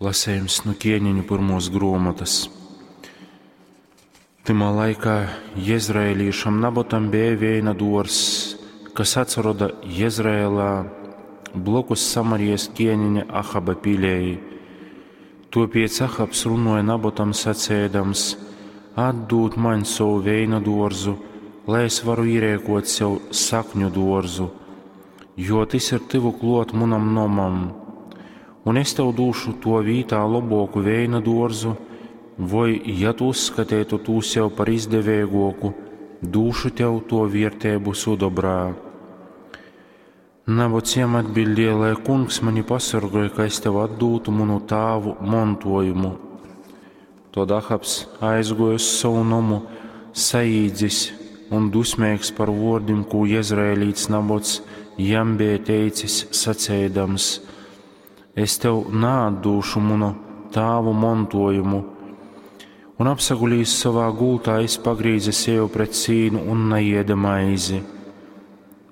Lasejums nu Kieneņu pyrmuos gruomotys. Tymā laikā jezraelīšam Nabotam beja veina duorzs, kas atsaroda Jezraelā, blokus Samarijas kieneņa Ahaba pilei. Tuopiec Ahabs runuoja Nabotam saceidams: Atdūd maņ sovu veina duorzu, lai es varu īreikuot sev sakņu duorzu, jo tys ir tyvu kluot munam nomam. Un es tev dūšu tuo vītā lobuoku veina duorzu, voi, ja tu uzskateitu tū sev par izdeveiguoku, dūšu tev tuo vierteibu sudobrā. Nabots jam atbildēja, lai kungs mani pasorgoj, ka es tev atdūtu munu tāvu montojumu. Tod Ahabs aizguoja uz sovu nomu, saīdzis un dusmeigs par vuordim, kū jezraelīts Nabots jam beja teicis, saceidams: Es tev naatdūšu munu tāvu montojumu. Un apsagulījis savā gultā, jis pagrīze seju pret sīnu un naieda maizi.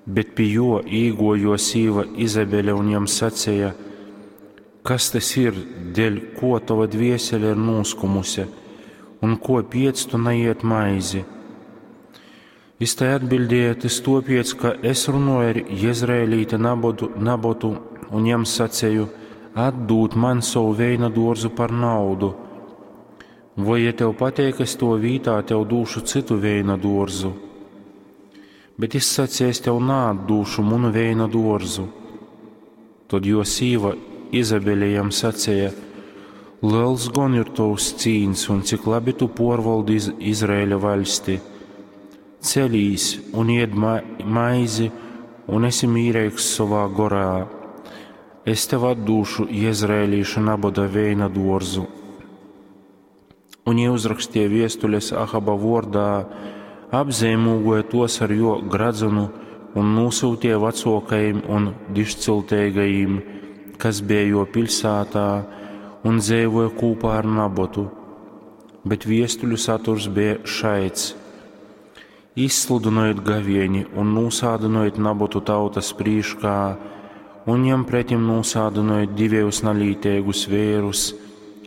Bet pi juo īguoja juo sīva Izabele un jam saceja: Kas tys ir, deļ kuo tova dviesele ir nūskumuse, un kuo piec tu naied maizi? Jis tai atbildēja: Tys tuopiec, ka es runuoju ar jezraelīti Nabotu, Nabotu un jam saceju: Atdūd man sovu veina duorzu par naudu. Voi, ja tev pateik, es tuo vītā tev dūšu cytu veina duorzu. Bet jis saceja: Es tev naatdūšu munu veina duorzu. Tod juo sīva Izabele jam saceja: Lels gon ir tovs cīns un cik labi tu puorvaldi iz Izraeļa vaļsti. Celīs un ied ma maizi un esi mīreigs sovā gorā. Es tev atdūšu jezraelīša Naboda veina duorzu. Un jī uzrakstīja viestules Ahaba vuordā, apzeimūgoja tos ar juo gradzunu un nūsyutīja vacuokajim un dižcilteigajim, kas bija juo piļsātā un dzeivoja kūpā ar Nabotu. Bet viestuļu saturs bija šaids: Izsludynojit gavieni un nūsādynojit Nabotu tautas prīškā, un jam pretim nūsādynojit divejus nalīteigus veirus,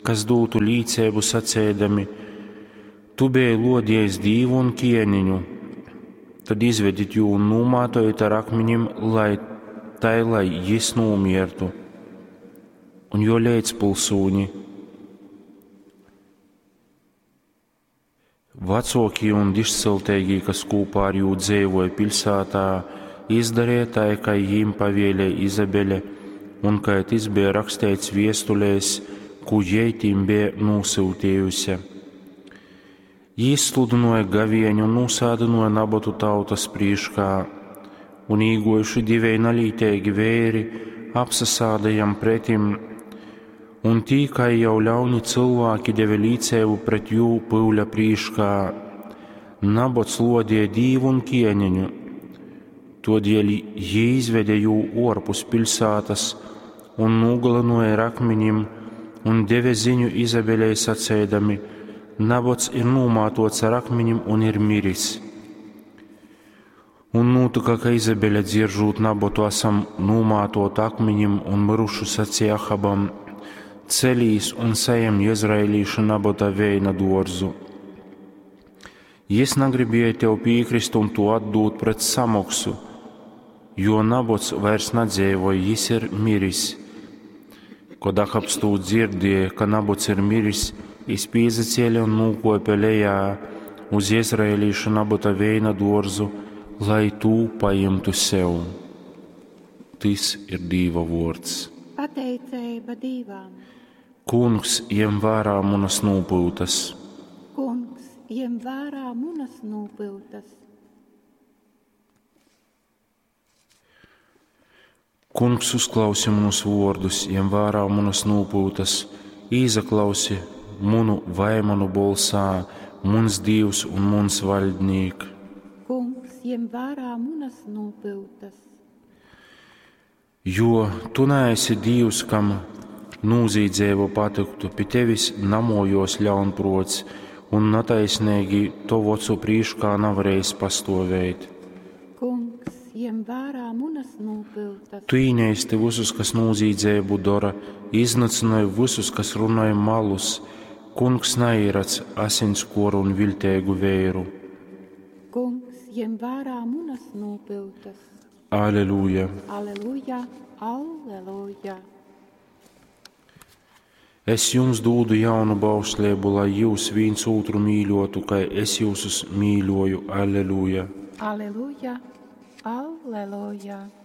kas dūtu līceibu saceidami: Tu beji luodiejs Dīvu un ķieniņu. Tad izvedit jū un nūmātojit ar akmenim, lai tai, lai jis nūmiertu. Un jo leidzpilsūņi, vecākie un dižcilteigī, kas kopā ar jū dzeivoja pilsētā, izdarīja tai, kā jīm pavēlēja Izabele, un kā tas bija rakstīts viestulēs, ko jai tīm bija nosūtījusi. Jī izsludināja gavieni un nūsādināja Nabotu tautas prīškā, un īgojuši divēji nalīteigi vēri apsasāda jam pretim, un tī, kā jau ļauni cilvēki deva līcēbu pret jū pyuļa prīškā. Nabots lodīja dīvu un ķieniņu, todēļ jī izveda jū orpus pilsētas un nogalināja ar akmeņiem un deva ziņu Izabelei sacēdami: Nabots ir nomātots ar akmeņiem un ir miris. Un notika, ka Izabele dzieržot Nabotu esam nomātot akmeņiem un mirušu sacīja Ahabam: Celīs un sajem Jezraelīša Nabota veina dārzu. Jis negribēja tev piekrist un to atdūt pret samoksu, jo Nabots vairs nedzīvoja, jis ir miris. Kad Ahabs to dzirdēja, ka Nabots ir miris, jis pīzacēla un nūkopja lejā uz Jezraelīša Nabota veina dārzu, lai tū paimtu sev. Tis ir Dīva vārds. Pateicība Dīvam. Kungs, jem vērā munas nopūtas. Kungs, jem vērā munas nopūtas. Kungs, uzklausi manus vārdus, jem vērā munas nopūtas, īzaklausi munu vaimanu bolsā, muns Dievs un muns vaļdnīk. Kungs, jem vērā munas nopūtas. Jo tu neesi Dievs, kam nūzīdzēva patiktu, pie tevis namojos ļaunprots, un netaisnīgi tovu ocu prīškā navarējis pastovēt. Kungs, jem jem vērā munas nopiltas. Tu īneisti visus, kas nūzīdzību dara, iznīcinoj visus, kas runoj malus. Kungs neīrac asinskoru un vilteigu veiru. Kungs, jem vērā munas nopiltas. Aleluja! Aleluja, aleluja! Es jums dūdu jaunu bauslību, lai jūs viens otru mīļotu, kā es jūsus mīļoju. Aleluja! Aleluja, aleluja!